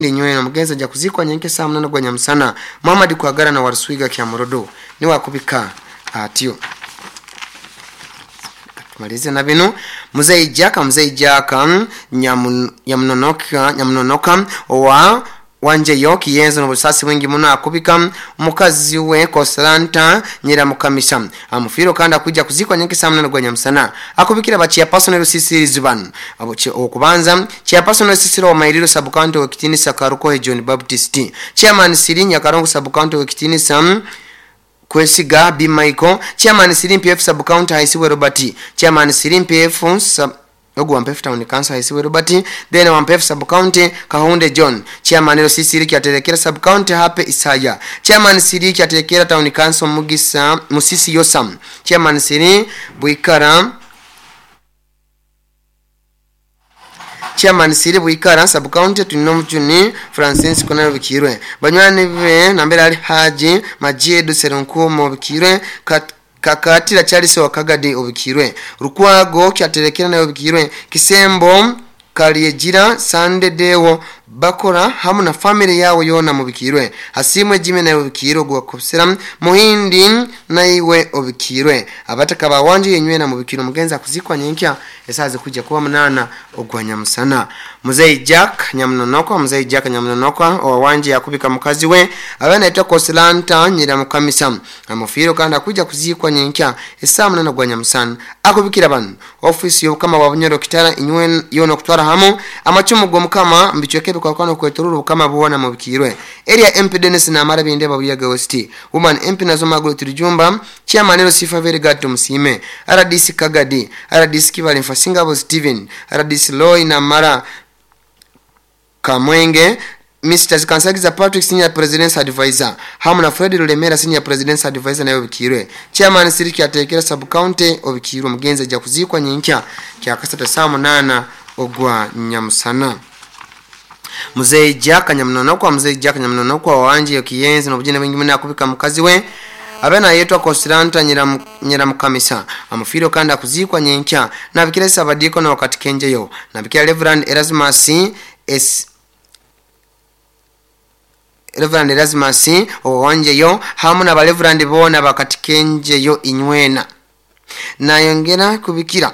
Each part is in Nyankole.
Nywena omugenzi ajja kuziikwa nyenke saa munana gwa nyamusana. Muhammad Kwagarana wa Ruswiga Kyamurodo niwe akubika atyo. Tumalize na bino. Muzei Jack, Muzei Jack nyamunonoka, nyamunonoka owa wanjeyo kiyenzo n'obusasi bwingi muno akubika mukazi we Kosalanta Nyiramukamisa amufiro kandi akujja kuzikwa nyenke saa munana gwa nyamusana. Akubikira ba chairperson Rusisirizi bano okubanza chairperson Rusisiro wa Mairiro sub county wekitinisa Karukohe John Baptist, chairman Sirinya Karongo sub county wekitinisa Kwesiga B Michael, chairman Sirimpi F sub county Haisiwe Robert, chairman Sirimpi F sub ogu Wampefu Town Council Haisiwe Robert, then Wampefu sub county Kahunde John, chairman Rosisiri Kyaterekera sub county Hape Isaya, chairman Siri Kyaterekera Town Council Mugisa Musisi Yosam, chairman Siri Buikara, chairman Siri Buikara sub county Tunomjuni Francis Konaro Bikirwe, banywani be nambere ali Haji Majedu Seronkumo Bikirwe, Kakatira Charles Wakagadi Obikirwe, Rukwago Kyaterekera nayo Obikirwe, Kisembo Kaliegira Sande Dewo bakora hamu na family yawo yona mubikirwe, Hasimwe Jimmy nayo Obikirwe gwakosera Muhindi naiwe Obikirwe, abataka bawanje yenywe na mubikirwe. Mugenza akuzikwa nyenkya esaze kujja kuba munana ogwa nyamusana. Muzei Jack Nyamunonoko, Muzei Jack Nyamunonoko owanje yakubika mukazi we abana aitwa Kosilanta Nyiramukamisa amufiro kandi akuja kuzikwa nyenkya esaa munana gwa nyamusana. Akubikira bano office y'obukama bwa Bunyoro Kitara inywe yona kutwara hamu amacumu g'omukama mbichweke bikwakwana kwetorora obukama bwona mubikirwe. Area MP Dennis Namara Bindeba Buyaga West, Woman MP Nazo Margaret Rujumba, Chairman Lucifer Verigad Musime, RDC Kagadi, RDC Kibale Mfasingabo Steven, RDC Loy Namara Kamwenge, Mr. Kansagiza Patrick Senior President's Advisor, hamu na Fred Lulemera Senior President's Advisor nayo Obikirwe, Chairman Siriki Atekera Sub County Obikirwe. Mugenzi ajja kuzikwa nyenkya kyakasatu saa munana ogwa nyamusana. Muzei Jack Nyamunonoko, Muzei Jack Nyamunonoko wanje kiyenzi n'obujene bwingi muno akubika mukazi we abena yetwa Kosilanta Nyiramukamisa amufiro kandi akuzikwa nyenkya. Nabikira Sabadiko na wakati kenjeyo nabikira Reverend Erasmus S Reverend Erasmus owanjeyo hamu na Reverend bona bakatikenjeyo inywena. Nayongera kubikira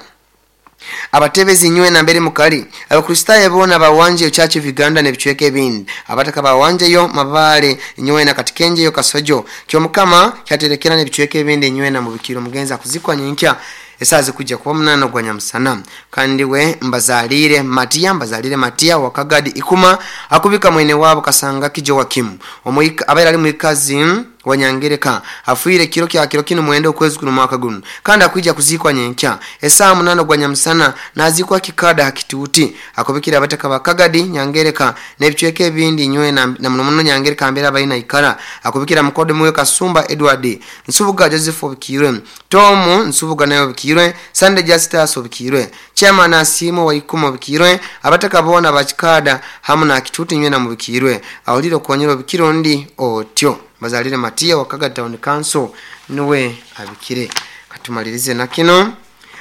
abatebezi nywena mbere mukali abakristayo bona bawanje Church of Uganda nebichweke ebindi abataka bawanjeyo mabale nywena katikenjeyo kasojo kyomukama kyaterekera nebichweke ebindi nywena mubikiro. Mugenza kuzikwa nyenkya esaze kujja kuba munana gwa nyamusana. Kandi we mbazalire Matia, mbazalire Matia wakagadi ikuma akubika mwene wabo kasanga kijo wakimu omuika abaira ali muikazi wanyangereka afuire kiro kya kiro kino mwendo okwezi kuno mwaka guno kandi akwijja kuzikwa nyenkya esaa munana gwa nyamusana nazikwa kikada hakituuti. Akubikira abataka bakagadi nyangereka nebichweke ebindi nywe na muno muno nyangereka mbera abalina ikara. Akubikira mukode muwe Kasumba Edward Nsubuga Joseph Obikirwe, Tomu Nsubuga nayo Obikirwe, Sunday Justus Obikirwe, Chairman Asimo wa Ikuma Obikirwe, abataka bona bakikada hamu na kituuti nywe na mubikirwe awulire okonyera Obikirwe ndi otyo. Bazalire Matia wakaga Town Council niwe abikire. Katumalirize na kino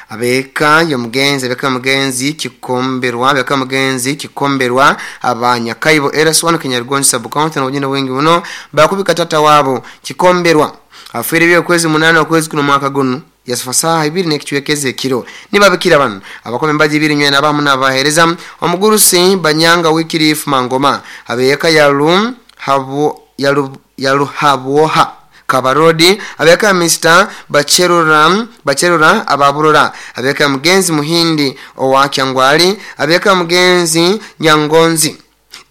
abeka yomugenzi, abeka mugenzi kikomberwa, abeka mugenzi kikomberwa abanyakaibo RS1 Kinyarugonzi sub county na ujina wengi muno bakubika tata wabo kikomberwa afuire byo kwezi munana okwezi kuno mwaka guno yasifasaha ibiri nekichwekeze ekiro nibabikira bano abakome mbaji ibiri nywe nabamu nabahereza omugurusi banyanga wikirifu mangoma abeka yalu habu yalu yaluhabwoha kabarodi abeka Mr. Bacherura Bacherura ababurura abeka mugenzi muhindi owakyangwali abeka mugenzi nyangonzi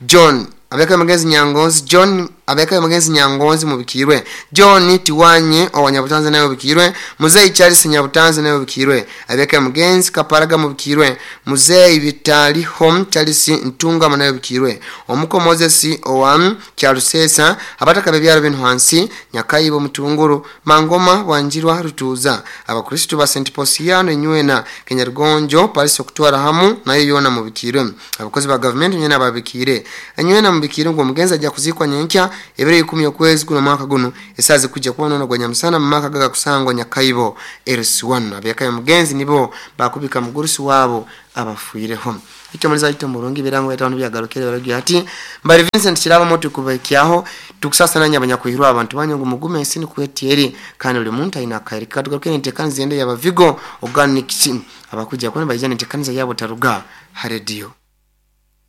John abeka mugenzi nyangonzi John abeka mugenzi nyangonzi mubikirwe John Tiwanye owanyabutanze nayo bikirwe Muzei Charles Nyabutanze nayo bikirwe abeka mugenzi Kaparaga mubikirwe Muzei Vitali Home Charles Ntunga nayo bikirwe Omuko Moses owa Kyarusesa abataka bebyaro bintu hansi Nyakaibo Mutunguru Mangoma Wanjirwa Rutuza abakristo ba St Posiano nywena Kenyarugonjo Paris okutwara hamu nayo yona mubikirwe abakozi ba government nywena babikire nywena mubikirwe ngo mugenzi ajja kuzikwa nyenkya ebiro ikumi okwezi kuno mwaka guno esaze kujja kuba nono gwa nyamusana mu maka gaga kusangwa Nyakaibo RS1 abeka mugenzi nibo bakubika mugurusi wabo abafuireho. Itwe omuriza waitu omurungi ebirango byaitu aho nibyagarukire baragira ati Mbari Vincent Kirabo tukubahikyaho tukusasa nanye abanyakwihirwa abantu banyu ngu mugume ensi nikwo eti eri kandi buri muntu aine akaire ke. Katugaruke nentekaniza ende yaba Vigo Organics abakuja kuba nibaija nentekaniza yabo taruga ha radio.